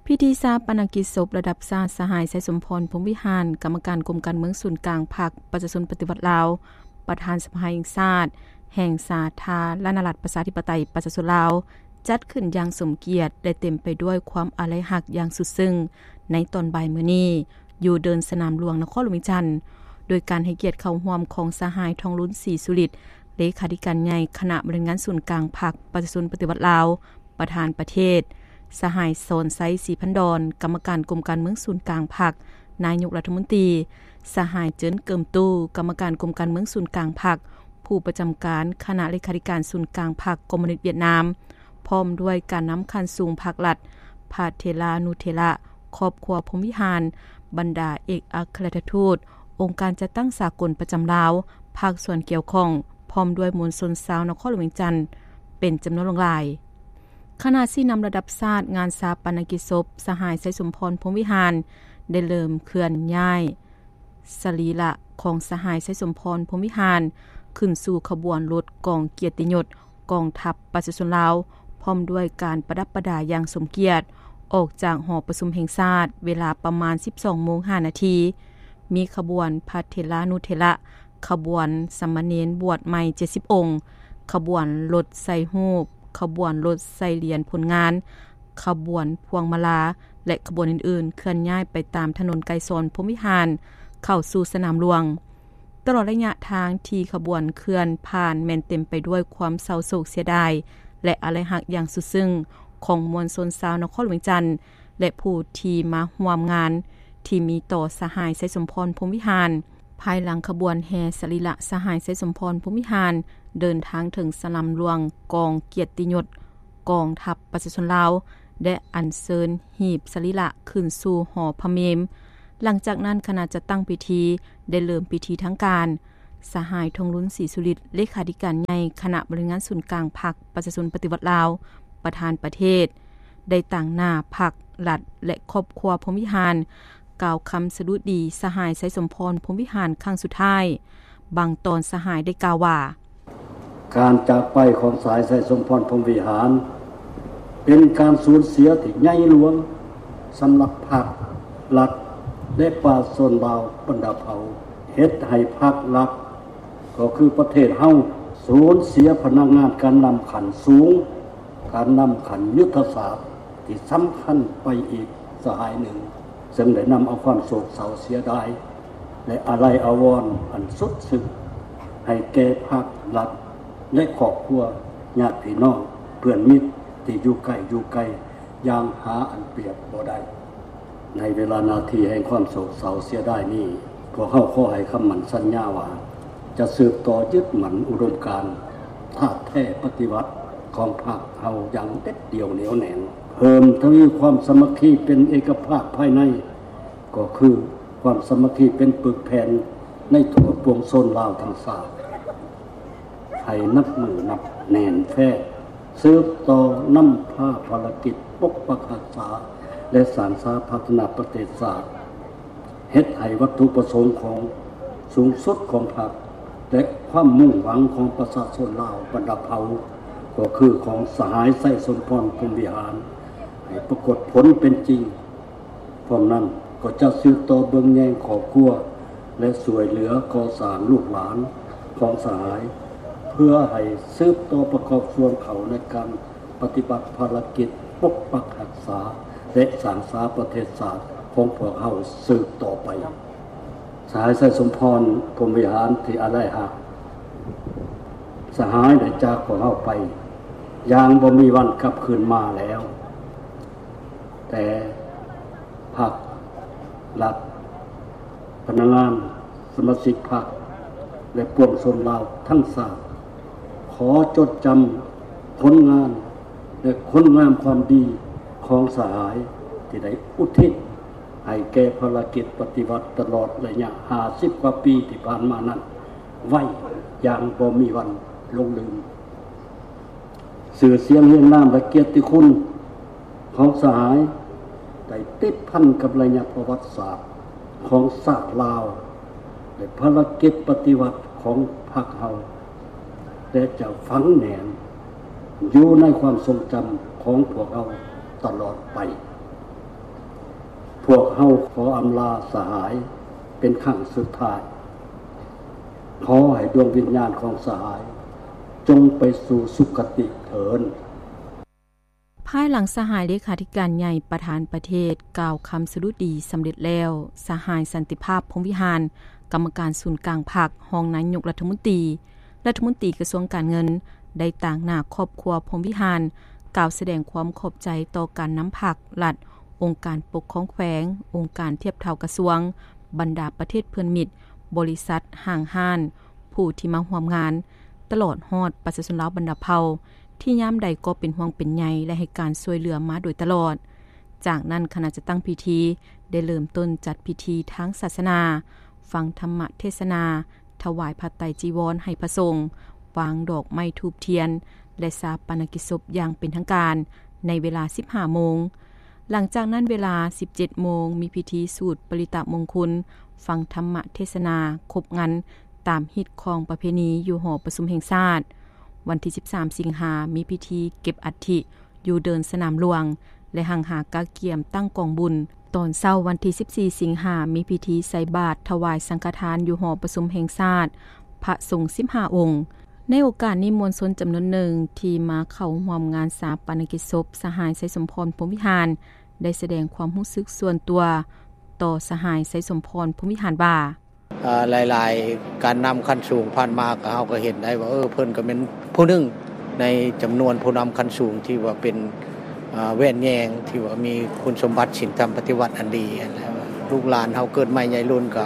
ພິທີຊາປະນະກິດສົບລະດັບຊາດ ສະຫາຍ ໄຊສົມພອນ ພົມວິຫານ ກຳມະການກົມການເມືອງສູນກາງພັກປະຊາຊົນປະຕິວັດລາວ, ປະທານສະພາແຫ່ງຊາດ ແຫ່ງສາທາລະນະລັດ ປະຊາທິປະໄຕ ປະຊາຊົນລາວ ຈັດຂຶ້ນຢ່າງສົມກຽດ ແລະ ເຕັມໄປດ້ວຍຄວາມອາໄລຮັກຢ່າງສຸດຊຶ້ງ ໃນຕອນບ່າຍມື້ນີ້ ຢູ່ເດີ່ນສະໜາມຫຼວງ ນະຄອນຫຼວງວຽງຈັນ ໂດຍການໃຫ້ກຽດເຂົ້າຮ່ວມຂອງສະຫາຍ ທອງລຸນ ສີສຸລິດ ເລຂາທິການໃຫຍ່ຄະນະບໍລິຫານງານສູນກາງພັກປະຊາຊົນປະຕິວັດລາວ, ປະທານປະເທດ, ສະຫາຍ ສອນໄຊ ສີພັນດອນ ກຳມະການກົມການເມືອງສູນກາງພັກ, ນາຍົກລັດຖະມົນຕີ, ສະຫາຍ ເຈີນ ເກີມຕູ້ ກຳມະການກົມການເມືອງສູນກາງພັກ, ຜູ້ປະຈຳການຄະນະເລຂາທິການສູນກາງພັກຄອມມູນິດຫວຽດນາມ, ພ້ອມດ້ວຍການນຳຂັ້ນສູງພັກລັດ, ພະເຖລານຸເຖລະ, ຄອບຄົວພົມວິຫານ, ບັນດາເອກອັກຄະລັດຖະທູດ, ອົງການຈັດຕັ້ງສາກົນປະຈຳລາວ, ພາກສ່ວນກ່ຽວຂ້ອງ, ພ້ອມດ້ວຍມວນຊົນຊາວນະຄອນຫຼວງວຽງຈັນ ເປັນຈຳນວນຫຼວງຫຼາຍ. ຄະນະຊີ້ນຳລະດັບຊາດງານຊາປະນະກິດສົບ ສະຫາຍ ໄຊສົມພອນ ພົມວິຫານ ໄດ້ເລີ່ມເຄື່ອນຍ້າຍສະລີລະຂອງສະຫາຍ ໄຊສົມພອນ ພົມວິຫານ ຂຶ້ນສູ່ຂະບວນລົດກອງກຽດຕິຍົດກອງທັບປະຊາຊົນລາວ ພ້ອມດ້ວຍການປະດັບປະດາຢ່າງສົມກຽດ ອອກຈາກຫໍປະຊຸມແຫ່ງຊາດ ເວລາປະມານສິບສອງໂມງຫ້ານາທີ. ມີຂະບວນພະເຖລານຸເຖລະ, ຂະບວນສາມະເນນບວດໃໝ່ເຈັດສິບອົງ, ຂະບວນລົດໃສ່ຮູບ, ຂະບວນລົດໃສ່ຫຼຽນຜົນງານ, ຂະບວນພວງມາລາ ແລະ ຂະບວນອື່ນໆ ເຄື່ອນຍ້າຍໄປຕາມຖະໜົນໄກສອນ ພົມວິຫານ ເຂົ້າສູ່ສະໜາມຫຼວງ. ຕະຫຼອດໄລຍະທາງທີ່ຂະບວນເຄື່ອນຜ່ານ ແມ່ນເຕັມໄປດ້ວຍຄວາມເສົ້າໂສກເສຍດາຍ ແລະ ອາໄລຮັກຢ່າງສຸດຊຶ້ງຂອງມວນຊົນຊາວນະຄອນຫຼວງວຽງຈັນ ແລະ ຜູ້ທີ່ມາຮ່ວມງານ ທີ່ມີຕໍ່ສະຫາຍ ໄຊສົມພອນ ພົມວິຫານ. ພາຍຫຼັງຂະບວນແຫ່ສະລີລະສະຫາຍ ໄຊສົມພອນ ພົມວິຫານ ເດີນທາງເຖິງສະໜາມຫຼວງກອງກຽດຕິຍົດກອງທັບປະຊາຊົນລາວ ແລະ ອັນເຊີນຫີບສະລີລະຂຶ້ນສູ່ຫໍພະເມມ. ຫຼັງຈາກນັ້ນ ຄະນະຈັດຕັ້ງພິທີໄດ້ເລີ່ມພິທີທາງການ. ສະຫາຍ ທອງລຸນ ສີສຸລິດ ເລຂາທິການໃຫຍ່ຄະນະບໍລິຫານງານສູນກາງພັກປະຊາຊົນປະຕິວັດລາວ, ປະທານປະເທດ ໄດ້ຕາງໜ້າພັກລັດ ແລະ ຄອບຄົວພົມວິຫານ ກ່າວຄຳສະດຸດີສະຫາຍ ໄຊສົມພອນ ພົມວິຫານ ຄັ້ງສຸດທ້າຍ. ບາງຕອນສະຫາຍໄດ້ກ່າວວ່າ: ການຈາກໄປຂອງສະຫາຍ ໄຊສົມພອນ ພົມວິຫານ ເປັນການສູນເສຍທີ່ໃຫຍ່ຫຼວງສຳລັບພັກລັດ ແລະ ປະຊາຊົນລາວບັນດາເຜົ່າ, ເຮັດໃຫ້ພັກລັດ ກໍຄືປະເທດເຮົາ ສູນເສຍພະນັກງານການນຳຂັ້ນສູງ, ການນຳຂັ້ນຍຸດທະສາດທີ່ສຳຄັນໄປອີກສະຫາຍໜຶ່ງ, ເຊິ່ງໄດ້ນຳເອົາຄວາມໂສກເສົ້າເສຍດາຍ ແລະ ອາໄລອາວອນອັນສຸດຊຶ້ງ ໃຫ້ແກ່ພັກລັດ ແລະ ຄອບຄົວ, ຍາດພີ່ນ້ອງ, ເພື່ອນມິດທີ່ຢູ່ໃກ້ຢູ່ໄກ ຢ່າງຫາອັນປຽບບໍ່ໄດ້. ໃນເວລານາທີແຫ່ງຄວາມໂສກເສົ້າເສຍດາຍນີ້, ພວກເຮົາຂໍໃຫ້ຄຳໝັ້ນສັນຍາວ່າ ຈະສືບຕໍ່ຍຶດໝັ້ນອຸດົມການທາດແທ້ປະຕິວັດຂອງພັກເຮົາຢ່າງເດັດດ່ຽວໜຽວແໜ້ນ, ເພີ່ມທະວີຄວາມສາມັກຄີເປັນເອກະພາບພາຍໃນ, ກໍຄືຄວາມສາມັກຄີເປັນປຶກແຜ່ນໃນທົ່ວປວງຊົນລາວທັງຊາດ ໃຫ້ໜັກໜຶ່ງໜັກແໜ້ນແຟ້ນ, ສືບຕໍ່ນຳພາພາລະກິດປົກປັກຮັກສາ ແລະ ສ້າງສາພັດທະນາປະເທດຊາດ, ເຮັດໃຫ້ວັດຖຸປະສົງຂອງສູງສຸດຂອງພັກ ແລະ ຄວາມມຸ່ງຫວັງຂອງປະຊາຊົນລາວບັນດາເຜົ່າ, ກໍຄືຂອງສະຫາຍໄຊສົມພອນ ພົມວິຫານ ໃຫ້ປາກົດຜົນເປັນຈິງ. ພ້ອມນັ້ນກໍຈະສືບຕໍ່ເບິ່ງແຍງຄອບຄົວ ແລະ ຊ່ວຍເຫຼືອກໍ່ສ້າງລູກຫຼານຂອງສະຫາຍ ເພື່ອໃຫ້ສືບຕໍ່ປະກອບສ່ວນເຂົ້າໃນການປະຕິບັດພາລະກິດປົກປັກຮັກສາ ແລະ ສ້າງສາປະເທດຊາດຂອງພວກເຮົາສືບຕໍ່ໄປ. ສະຫາຍໄຊສົມພອນ ພົມວິຫານທີ່ອາໄລຮັກ, ສະຫາຍໄດ້ຈາກພວກເຮົາໄປຢ່າງບໍ່ມີວັນກັບຄືນມາແລ້ວ. ແຕ່ພັກລັດ, ພະນັກງານ, ສະມາຊິກພັກ ແລະ ປວງຊົນລາວທັງຊາດ ຂໍຈົດຈຳຜົນງານ ແລະ ຄຸນງາມຄວາມດີຂອງສະຫາຍ ທີ່ໄດ້ອຸທິດໃຫ້ແກ່ພາລະກິດປະຕິວັດຕະຫຼອດໄລຍະຫ້າສິບກວ່າປີທີ່ຜ່ານມານັ້ນໄວ້ຢ່າງບໍ່ມີວັນຫຼົງລືມ. ຊື່ສຽງຮຽງນາມ ແລະ ກຽດຕິຄຸນຂອງສະຫາຍໄດ້ຕິດພັນກັບໄລຍະປະຫວັດສາດຂອງຊາດລາວ ແລະ ພາລະກິດປະຕິວັດຂອງພັກເຮົາ ແລະ ຈະຝັງແໜ້ນຢູ່ໃນຄວາມຊົງຈຳຂອງພວກເຮົາຕະຫຼອດໄປ. ພວກເຮົາຂໍອຳລາສະຫາຍເປັນຄັ້ງສຸດທ້າຍ. ຂໍໃຫ້ດວງວິນຍານຂອງສະຫາຍຈົ່ງໄປສູ່ສຸຄະຕິເຖີ້ນ. ພາຍຫຼັງສະຫາຍເລຂາທິການໃຫຍ່ປະທານປະເທດກ່າວຄຳສະດຸດີສຳເລັດແລ້ວ, ສະຫາຍ ສັນຕິພາບ ພົມວິຫານ ກຳມະການສູນກາງພັກ, ຮອງນາຍົກລັດຖະມົນຕີ, ລັດຖະມົນຕີກະຊວງການເງິນ ໄດ້ຕາງໜ້າຄອບຄົວພົມວິຫານ ກ່າວສະແດງຄວາມຂອບໃຈຕໍ່ການນຳພັກ, ລັດ, ອົງການປົກຄອງແຂວງ, ອົງການທຽບເທົ່າກະຊວງ, ບັນດາປະເທດເພື່ອນມິດ, ບໍລິສັດ, ຫ້າງຮ້ານ, ຜູ້ທີ່ມາຮ່ວມງານ, ຕະຫຼອດຮອດປະຊາຊົນລາວບັນດາເຜົ່າ ທີ່ຍາມໃດກໍເປັນຫ່ວງເປັນໃຍ ແລະ ໃຫ້ການຊ່ວຍເຫຼືອມາໂດຍຕະຫຼອດ. ຈາກນັ້ນຄະນະຈັດຕັ້ງພິທີໄດ້ເລີ່ມຕົ້ນຈັດພິທີທາງສາສະໜາ, ຟັງທຳມະເທດສະໜາ, ຖວາຍຜ້າໄຕຈີວອນໃຫ້ພະສົງ, ວາງດອກໄມ້ທູບທຽນ ແລະ ຊາປະນະກິດສົບຢ່າງເປັນທາງການໃນເວລາສິບຫ້າໂມງ. ຫຼັງຈາກນັ້ນເວລາສິບເຈັດໂມງ ມີພິທີສູດປະລິຕະມົງຄຸນ, ຟັງທຳມະເທດສະໜາຄົບງັນຕາມຮີດຄອງປະເພນີຢູ່ຫໍປະຊຸມແຫ່ງຊາດ. ວັນທີສິບສາມສິງຫາ ມີພິທີເກັບອັດຖິຢູ່ເດີ່ນສະໜາມຫຼວງ ແລະ ຮັ່ງຫາກະກຽມຕັ້ງກອງບຸນ. ຕອນເຊົ້າວັນທີສິບສີ່ສິງຫາ ມີພິທີໃສ່ບາດຖວາຍສັງຄະທານຢູ່ຫໍປະຊຸມແຫ່ງຊາດ ພະສົງສິບຫ້າອົງ. ໃນໂອກາດນີ້ ມວນຊົນຈຳນວນໜຶ່ງທີ່ມາເຂົ້າຮ່ວມງານຊາປະນະກິດສົບສະຫາຍ ໄຊສົມພອນ ພົມວິຫານ ໄດ້ສະແດງຄວາມຮູ້ສຶກສ່ວນຕົວຕໍ່ສະຫາຍ ໄຊສົມພອນ ພົມວິຫານວ່າ: ເອີ ຫຼາຍໆການນຳຂັ້ນສູງຜ່ານມາ ກໍ ເຮົາກໍເຫັນໄດ້ວ່າ ເອີ ເພິ່ນກໍແມ່ນຜູ້ໜຶ່ງໃນຈຳນວນຜູ້ນຳຂັ້ນສູງທີ່ວ່າເປັນ ເອີ ແວ່ນແຍງ ທີ່ວ່າມີຄຸນສົມບັດສິນທຳປະຕິວັດອັນດີ ແລະ ລູກຫຼານເຮົາເກີດໃໝ່ໃຫຍ່ລຸ້ນກໍ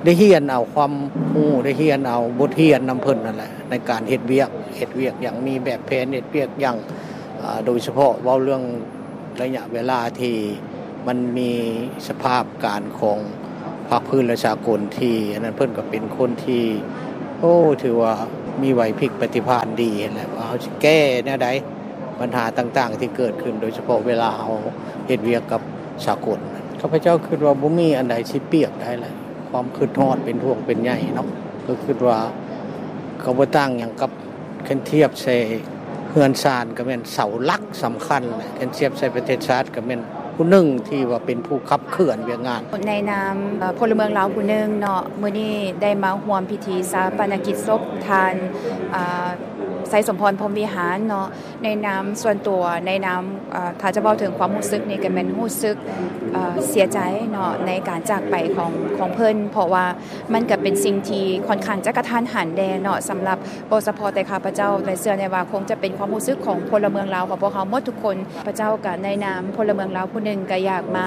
ໄດ້ຮຽນເອົາຄວາມຮູ້ ໄດ້ຮຽນເອົາບົດຮຽນນຳເພິ່ນນັ້ນແຫຼະ ໃນການເຮັດວຽກ ເຮັດວຽກຢ່າງມີແບບແຜນ ເຮັດວຽກຢ່າງ ອາ ໂດຍສະເພາະເວົ້າເລື່ອງໄລຍະເວລາທີ່ມັນມີສະພາບການຂອງພາກພື້ນ ແລະ ສາກົນທີ່ອັນນັ້ນ ເພິ່ນກໍເປັນຄົນທີ່ ໂອ້ ຖືວ່າມີໄຫວພິບປະຕິພານດີຫັ້ນແຫຼະ ວ່າເຮົາຊິແກ້ແນວໃດບັນຫາຕ່າງໆທີ່ເກີດຂຶ້ນ ໂດຍສະເພາະເວລາເຮົາເຮັດວຽກກັບສາກົນ. ຂ້າພະເຈົ້າຄິດວ່າບໍ່ມີອັນໃດຊິປຽບໄດ້ແຫຼະ ຄວາມຄິດຮອດເປັນຫ່ວງເປັນໃຍເນາະ ກໍຄິດວ່າກໍບໍ່ຕ່າງຫຍັງກັບ ຄັນທຽບໃສ່ເຮືອນຊານກໍແມ່ນເສົາຫຼັກສຳຄັນແຫຼະ ຄັນທຽບໃສ່ປະເທດຊາດກໍແມ່ນຜູ້ໜຶ່ງທີ່ວ່າເປັນຜູ້ຂັບເຄື່ອນວຽກງານ. ໃນນາມ ເອີ ພົນລະເມືອງລາວຜູ້ໜຶ່ງເນາະ ມື້ນີ້ໄດ້ມາຮ່ວມພິທີຊາປະນະກິດສົບທ່ານ ເອີ ໄຊສົມພອນ ພົມວິຫານເນາະ ໃນນາມສ່ວນຕົວ ໃນນາມ ເອີ ຖ້າຈະເວົ້າເຖິງຄວາມຮູ້ສຶກນີ້ກໍແມ່ນຮູ້ສຶກ ເອີ ເສຍໃຈເນາະ ໃນການຈາກໄປຂອງ ຂອງເພິ່ນ ເພາະວ່າ ມັນກໍເປັນສິ່ງທີ່ຂ້ອນຂ້າງຈະກະທັນຫັນແດ່ເນາະ ສຳລັບບໍ່ສະເພາະແຕ່ຂ້າພະເຈົ້າ ແຕ່ເຊື່ອແນ່ວ່າຄົງຈະເປັນຄວາມຮູ້ສຶກຂອງພົນລະເມືອງລາວຂອງພວກເຮົາໝົດທຸກຄົນ. ຂ້າພະເຈົ້າກໍໃນນາມພົນລະເມືອງລາວຜູ້ໜຶ່ງ ກໍຢາກມາ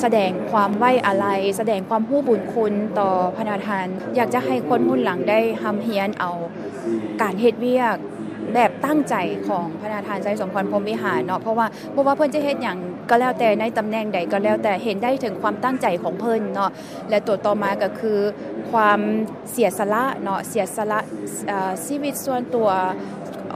ສະແດງຄວາມໄວ້ອາໄລ, ສະແດງຄວາມຮູ້ບຸນຄຸນຕໍ່ພະນະທ່ານ. ຢາກຈະໃຫ້ຄົນຮຸ່ນຫຼັງໄດ້ຮ່ຳຮຽນເອົາການເຮັດວຽກແບບຕັ້ງໃຈຂອງພະນະທ່ານໄຊສົມພອນ ພົມວິຫານເນາະ ເພາະວ່າ ບໍ່ວ່າເພິ່ນຈະເຮັດຫຍັງກໍແລ້ວແຕ່ ໃນຕຳແໜ່ງໃດກໍແລ້ວແຕ່ ເຫັນໄດ້ເຖິງຄວາມຕັ້ງໃຈຂອງເພິ່ນເນາະ ແລະ ໂຕຕໍ່ມາກໍຄືຄວາມເສຍສະຫຼະເນາະ ເສຍສະຫຼະ ເອີ ຊີວິດສ່ວນຕົວ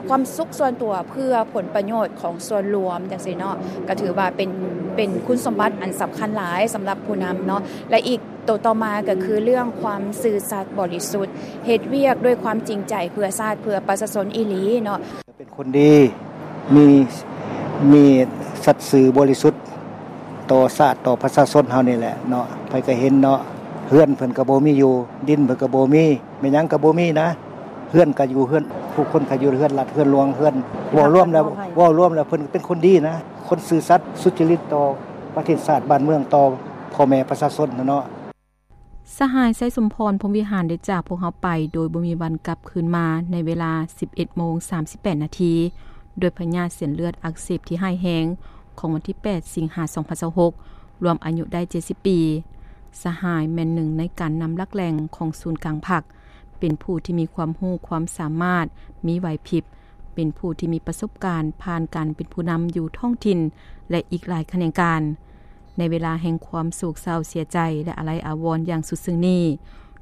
ຄວາມສຸກສ່ວນຕົວ ເພື່ອຜົນປະໂຫຍດຂອງສ່ວນລວມຈັ່ງຊີ້ເນາະ ກໍຖືວ່າເປັນ ເປັນຄຸນສົມບັດອັນສຳຄັນຫຼາຍສຳລັບຜູ້ນຳເນາະ ແລະ ອີກໂຕຕໍ່ມາກໍຄືເລື່ອງຄວາມຊື່ສັດບໍລິສຸດ ເຮັດວຽກດ້ວຍຄວາມຈິງໃຈເພື່ອຊາດ ເພື່ອປະຊາຊົນອີ່ຫຼີເນາະ. ເປັນຄົນດີ ມີ ມີສັດຊື່ບໍລິສຸດຕໍ່ຊາດຕໍ່ປະຊາຊົນເຮົານີ້ແຫຼະເນາະ ໃຜກໍເຫັນເນາະ ເຮືອນເພິ່ນກໍບໍ່ມີຢູ່ ດິນເພິ່ນກໍບໍ່ມີ ແມ່ນຫຍັງກໍບໍ່ມີນະ ເຮືອນກໍຢູ່ເຮືອນ ຜູ້ຄົນກໍຢູ່ເຮືອນລັດເຮືອນຫຼວງ ເຮືອນ ເວົ້າລວມແລ້ວ ເວົ້າລວມແລ້ວເພິ່ນເປັນຄົນດີນະ ຄົນຊື່ສັດສຸດຈະລິດຕໍ່ປະເທດຊາດບ້ານເມືອງ ຕໍ່ພໍ່ແມ່ປະຊາຊົນຫັ້ນເນາະ. ສະຫາຍ ໄຊສົມພອນ ພົມວິຫານ ໄດ້ຈາກພວກເຮົາໄປໂດຍບໍ່ມີວັນກັບຄືນມາໃນເວລາສິບເອັດໂມງສາມສິບແປດນາທີ ດ້ວຍພະຍາດເສັ້ນເລືອດອັກເສບທີ່ຮ້າຍແຮງຂອງວັນທີແປດສິງຫາສອງພັນຊາວຫົກ ລວມອາຍຸໄດ້ເຈັດສິບປີ. ສະຫາຍແມ່ນໜຶ່ງໃນການນຳຫຼັກແຫຼ່ງຂອງສູນກາງພັກ, ເປັນຜູ້ທີ່ມີຄວາມຮູ້ຄວາມສາມາດ, ມີໄຫວພິບ, ເປັນຜູ້ທີ່ມີປະສົບການຜ່ານການເປັນຜູ້ນຳຢູ່ທ້ອງຖິ່ນ ແລະ ອີກຫຼາຍຂະແໜງການ. ໃນເວລາແຫ່ງຄວາມໂສກເສົ້າເສຍໃຈ ແລະ ອາໄລອາວອນຢ່າງສຸດຊຶ້ງນີ້,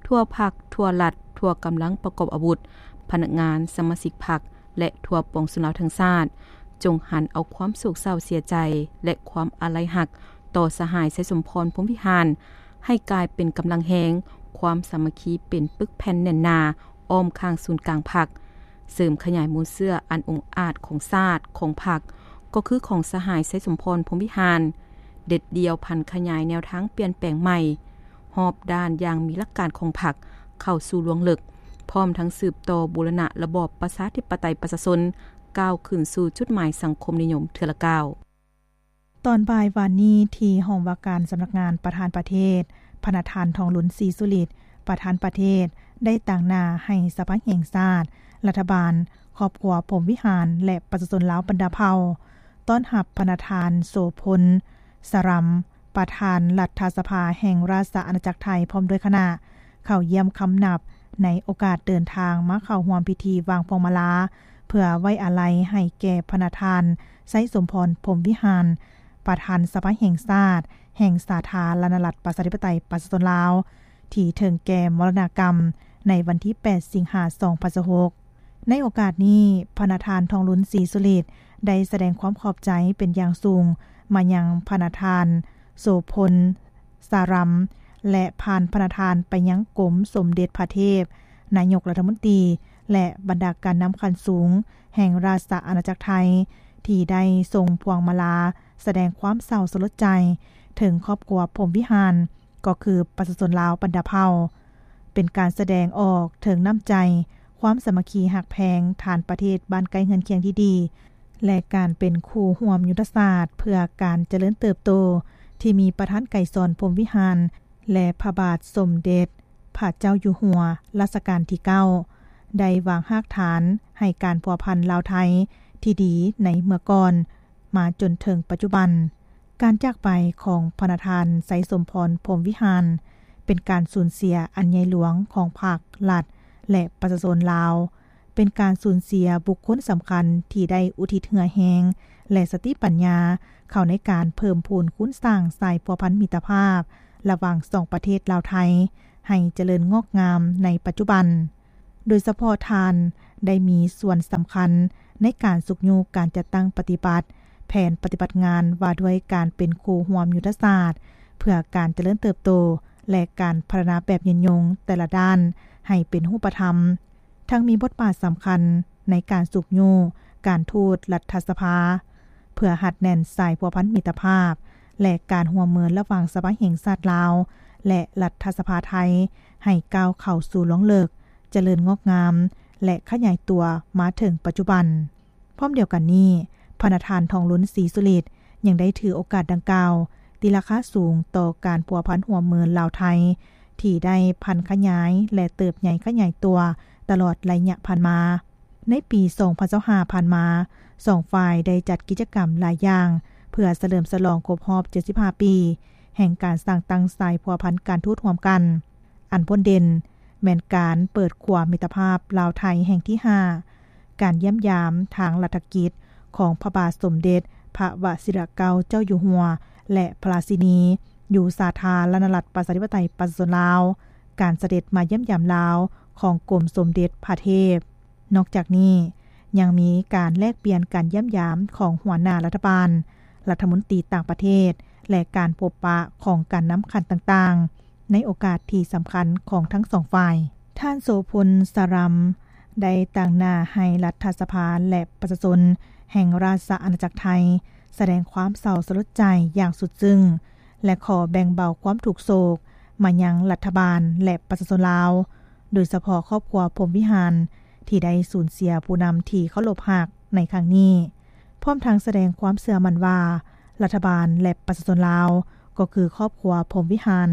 ທົ່ວພັກ, ທົ່ວລັດ, ທົ່ວກຳລັງປະກອບອາວຸດ, ພະນັກງານ, ສະມາຊິກພັກ ແລະ ທົ່ວປວງຊົນລາວທັງຊາດ, ຈົ່ງຫັນເອົາຄວາມໂສກເສົ້າເສຍໃຈ ແລະ ຄວາມອາໄລຮັກຕໍ່ສະຫາຍ ໄຊສົມພອນ ພົມວິຫານ ໃຫ້ກາຍເປັນກຳລັງແຮງ, ຄວາມສາມັກຄີເປັນປຶກແຜ່ນແໜ້ນໜາ ອ້ອມຂ້າງສູນກາງພັກ, ເສີມຂະຫຍາຍມູນເຊື້ອອັນອົງອາດຂອງຊາດ, ຂອງພັກ, ກໍຄືຂອງສະຫາຍ ໄຊສົມພອນ ພົມວິຫານ, ເດັດດ່ຽວຜັນຂະຫຍາຍແນວທາງປ່ຽນແປງໃໝ່ຮອບດ້ານຢ່າງມີຫຼັກການຂອງພັກເຂົ້າສູ່ລວງເລິກ, ພ້ອມທັງສືບຕໍ່ບູລະນະລະບອບປະຊາທິປະໄຕປະຊາຊົນ ກ້າວຂຶ້ນສູ່ຈຸດໝາຍສັງຄົມນິຍົມເທື່ອລະກ້າວ. ຕອນບ່າຍວານນີ້ ທີ່ຫ້ອງວ່າການສຳນັກງານປະທານປະເທດ, ພະນະທ່ານ ທອງລຸນ ສີສຸລິດ ປະທານປະເທດ ໄດ້ຕາງໜ້າໃຫ້ສະພາແຫ່ງຊາດ, ລັດຖະບານ, ຄອບຄົວພົມວິຫານ ແລະ ປະຊາຊົນລາວບັນດາເຜົ່າ ຕ້ອນຮັບພະນະທ່ານ ໂສພົນ ສາຣຳ ປະທານລັດຖະສະພາແຫ່ງລາຊະອານາຈັກໄທ ພ້ອມດ້ວຍຄະນະ ເຂົ້າຢ້ຽມຄຳນັບ ໃນໂອກາດເດີນທາງມາເຂົ້າຮ່ວມພິທີວາງພວງມາລາ ເພື່ອໄວ້ອາໄລໃຫ້ແກ່ພະນະທ່ານ ໄຊສົມພອນ ພົມວິຫານ ປະທານສະພາແຫ່ງຊາດ ແຫ່ງສາທາລະນະລັດ ປະຊາທິປະໄຕ ປະຊາຊົນລາວ ທີ່ເຖິງແກ່ມໍລະນະກຳໃນວັນທີແປດ ສິງຫາ ສອງພັນຊາວຫົກ. ໃນໂອກາດນີ້, ພະນະທ່ານ ທອງລຸນ ສີສຸລິດ ໄດ້ສະແດງຄວາມຂອບໃຈເປັນຢ່າງສູງມາຍັງພະນະທ່ານ ໂສພົນ ສາຣຳ ແລະ ຜ່ານພະນະທ່ານໄປຍັງກົມສົມເດັດພະເທບ, ນາຍົກລັດຖະມົນຕີ ແລະ ບັນດາການນຳຂັ້ນສູງແຫ່ງລາຊະອານາຈັກໄທ ທີ່ໄດ້ສົ່ງພວງມາລາສະແດງຄວາມເສົ້າສະຫຼົດໃຈເຖິງຄອບຄົວພົມວິຫານ ກໍຄືປະຊາຊົນລາວບັນດາເຜົ່າ, ເປັນການສະແດງອອກເຖິງນ້ຳໃຈ, ຄວາມສາມັກຄີຮັກແພງ, ທານປະເທດບ້ານໃກ້ເຮືອນຄຽງທີ່ດີ ແລະ ການເປັນຄູ່ຮ່ວມຍຸດທະສາດເພື່ອການຈະເລີນເຕີບໂຕ ທີ່ມີປະທານໄກສອນ ພົມວິຫານ ແລະ ພະບາດສົມເດັດພະເຈົ້າຢູ່ຫົວ ລາຊະການທີເກົ້າ ໄດ້ວາງຮາກຖານໃຫ້ການພົວພັນລາວໄທທີ່ດີໃນເມື່ອກ່ອນ ມາຈົນເຖິງປັດຈຸບັນ. ການຈາກໄປຂອງພະນະທ່ານ ໄຊສົມພອນ ພົມວິຫານ ເປັນການສູນເສຍອັນໃຫຍ່ຫຼວງຂອງພັກ, ລັດ ແລະ ປະຊາຊົນລາວ, ເປັນການສູນເສຍບຸກຄົນສຳຄັນທີ່ໄດ້ອຸທິດເຫື່ອແຮງ ແລະ ສະຕິປັນຍາເຂົ້າໃນການເພີ່ມພູນຄູນສ້າງສາຍພົວພັນມິດຕະພາບລະຫວ່າງສອງປະເທດລາວ-ໄທ ໃຫ້ຈະເລີນງອກງາມໃນປັດຈຸບັນ. ໂດຍສະເພາະທ່ານໄດ້ມີສ່ວນສຳຄັນໃນການຊຸກຍູ້ການຈັດຕັ້ງປະຕິບັດແຜນປະຕິບັດງານວ່າດ້ວຍການເປັນຄູ່ຮ່ວມຍຸດທະສາດເພື່ອການຈະເລີນເຕີບໂຕ ແລະ ການພັດທະນາແບບຍືນຍົງແຕ່ລະດ້ານໃຫ້ເປັນຮູບປະທຳ, ທັງມີບົດບາດສຳຄັນໃນການຊຸກຍູ້ການທູດລັດຖະສະພາ ເພື່ອຮັດແໜ້ນສາຍພົວພັນມິດຕະພາບ ແລະ ການຮ່ວມມືລະຫວ່າງສະພາແຫ່ງຊາດລາວ ແລະ ລັດຖະສະພາໄທ ໃຫ້ກ້າວເຂົ້າສູ່ລວງເລິກ, ຈະເລີນງອກງາມ ແລະ ຂະຫຍາຍຕົວມາເຖິງປັດຈຸບັນ. ພ້ອມດຽວກັນນີ້, ພະນະທ່ານ ທອງລຸນ ສີສຸລິດ ຍັງໄດ້ຖືໂອກາດດັ່ງກ່າວ ຕີລາຄາສູງຕໍ່ການພົວພັນຮ່ວມມືລາວ-ໄທ ທີ່ໄດ້ຜັນຂະຫຍາຍ ແລະ ເຕີບໃຫຍ່ຂະຫຍາຍຕົວຕະຫຼອດໄລຍະຜ່ານມາ. ໃນປີສອງພັນຊາວຫ້າຜ່ານມາ, ສອງຝ່າຍໄດ້ຈັດກິດຈະກຳຫຼາຍຢ່າງ ເພື່ອສະເຫຼີມສະຫຼອງຄົບຮອບເຈັດສິບຫ້າປີ ແຫ່ງການສ້າງຕັ້ງສາຍພົວພັນການທູດຮ່ວມກັນ. ອັນໂດດເດັ່ນແມ່ນການເປີດຂົວມິດຕະພາບລາວ-ໄທແຫ່ງທີຫ້າ, ການຢ້ຽມຢາມທາງລັດຖະກິດຂອງພະບາດສົມເດັດພະວະຊິລະເກົ້າເຈົ້າຢູ່ຫົວ ແລະ ພະລາຊິນີ ຢູ່ສາທາລະນະລັດ ປະຊາທິປະໄຕ ປະຊາຊົນລາວ, ການສະເດັດມາຢ້ຽມຢາມລາວຂອງກົມສົມເດັດພະເທບ. ນອກຈາກນີ້, ຍັງມີການແລກປ່ຽນການຢ້ຽມຢາມຂອງຫົວໜ້າລັດຖະບານ, ລັດຖະມົນຕີຕ່າງປະເທດ ແລະ ການພົບປະຂອງການນຳຂັ້ນຕ່າງໆ ໃນໂອກາດທີ່ສຳຄັນຂອງທັງສອງຝ່າຍ. ທ່ານ ໂສພົນ ສາຣຳ ໄດ້ຕາງໜ້າໃຫ້ລັດຖະສະພາ ແລະ ປະຊາຊົນແຫ່ງລາຊະອານາຈັກໄທ ສະແດງຄວາມເສົ້າສະຫຼົດໃຈຢ່າງສຸດຊຶ້ງ ແລະ ຂໍແບ່ງເບົາຄວາມທຸກໂສກມາຍັງລັດຖະບານ ແລະ ປະຊາຊົນລາວ, ໂດຍສະເພາະຄອບຄົວພົມວິຫານ ທີ່ໄດ້ສູນເສຍຜູ້ນຳທີ່ເຄົາລົບຮັກໃນຄັ້ງນີ້, ພ້ອມທັງສະແດງຄວາມເຊື່ອໝັ້ນວ່າ ລັດຖະບານ ແລະ ປະຊາຊົນລາວ ກໍຄືຄອບຄົວພົມວິຫານ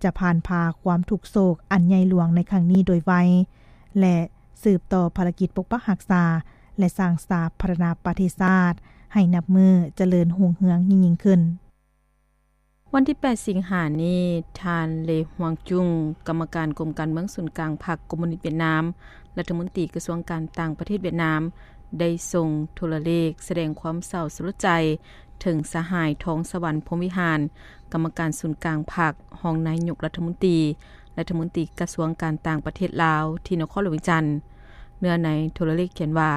ຈະຜ່ານຜ່າຄວາມທຸກໂສກອັນໃຫຍ່ຫຼວງໃນຄັ້ງນີ້ໂດຍໄວ ແລະ ສືບຕໍ່ພາລະກິດປົກປັກຮັກສາ ແລະ ສ້າງສາພັດທະນາປະເທດຊາດໃຫ້ນັບມື້ຈະເລີນຮຸ່ງເຮືອງຍິ່ງໆຂຶ້ນ. ວັນທີແປດ ສິງຫານີ້, ທ່ານ ເລ ຮວງຈຸງ ກຳມະການກົມການເມືອງສູນກາງພັກຄອມມູນິດຫວຽດນາມ, ລັດຖະມົນຕີກະຊວງການຕ່າງປະເທດຫວຽດນາມ ໄດ້ສົ່ງໂທລະເລກສະແດງຄວາມເສົ້າສະຫຼົດໃຈເຖິງສະຫາຍ ທອງສະຫວັນ ພົມວິຫານ ກຳມະການສູນກາງພັກ, ຮອງນາຍົກລັດຖະມົນຕີ, ລັດຖະມົນຕີກະຊວງການຕ່າງປະເທດລາວ ທີ່ນະຄອນຫຼວງວຽງຈັນ. ເນື້ອໃນໂທລະເລກຂຽນວ່າ,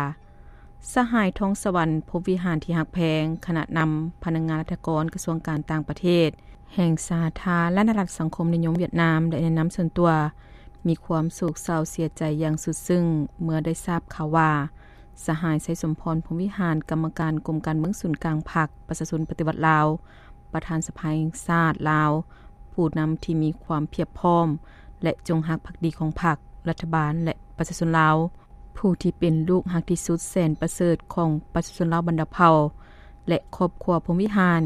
ສະຫາຍ ທອງສະຫວັນ ພົມວິຫານທີ່ຮັກແພງ, ຄະນະນຳ, ພະນັກງານລັດຖະກອນກະຊວງການຕ່າງປະເທດແຫ່ງສາທາລະນະລັດສັງຄົມນິຍົມຫວຽດນາມ ແລະ ແນະນຳສ່ວນຕົວ ມີຄວາມໂສກເສົ້າເສຍໃຈຢ່າງສຸດຊຶ້ງ ເມື່ອໄດ້ຊາບຂ່າວວ່າ ສະຫາຍ ໄຊສົມພອນ ພົມວິຫານ ກຳມະການກົມການເມືອງສູນກາງພັກປະຊາຊົນປະຕິວັດລາວ ປະທານສະພາແຫ່ງຊາດລາວ, ຜູ້ນຳທີ່ມີຄວາມພຽບພ້ອມ ແລະ ຈົງຮັກພັກດີຂອງພັກ, ລັດຖະບານ ແລະ ປະຊາຊົນລາວ, ຜູ້ທີ່ເປັນລູກຮັກທີ່ສຸດແສນປະເສີດຂອງປະຊາຊົນລາວບັນດາເຜົ່າ ແລະ ຄອບຄົວພົມວິຫານ,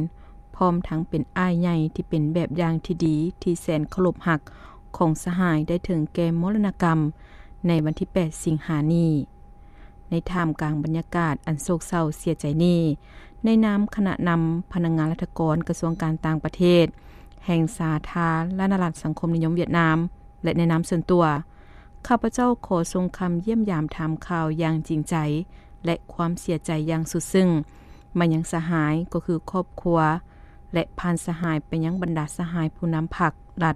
ພ້ອມທັງເປັນອ້າຍໃຫຍ່ທີ່ເປັນແບບຢ່າງທີ່ດີທີ່ແສນເຄົາລົບຮັກຂອງສະຫາຍໄດ້ເຖິງແກ່ມໍລະນະກຳໃນວັນທີແປດ ສິງຫານີ້. ໃນທ່າມກາງບັນຍາກາດອັນໂສກເສົ້າເສຍໃຈນີ້, ໃນນາມຄະນະນຳພະນັກງານລັດຖະກອນກະຊວງການຕ່າງປະເທດ ແຫ່ງສາທາລະນະລັດສັງຄົມນິຍົມຫວຽດນາມ ແລະ ໃນນາມສ່ວນຕົວ, ຂ້າພະເຈົ້າຂໍສົ່ງຄຳຢ້ຽມຢາມຖາມຂ່າວຢ່າງຈິງໃຈ ແລະ ຄວາມເສຍໃຈຢ່າງສຸດຊຶ້ງມາຍັງສະຫາຍ ກໍຄືຄອບຄົວ ແລະ ຜ່ານສະຫາຍໄປຍັງບັນດາສະຫາຍຜູ້ນຳພັກ, ລັດ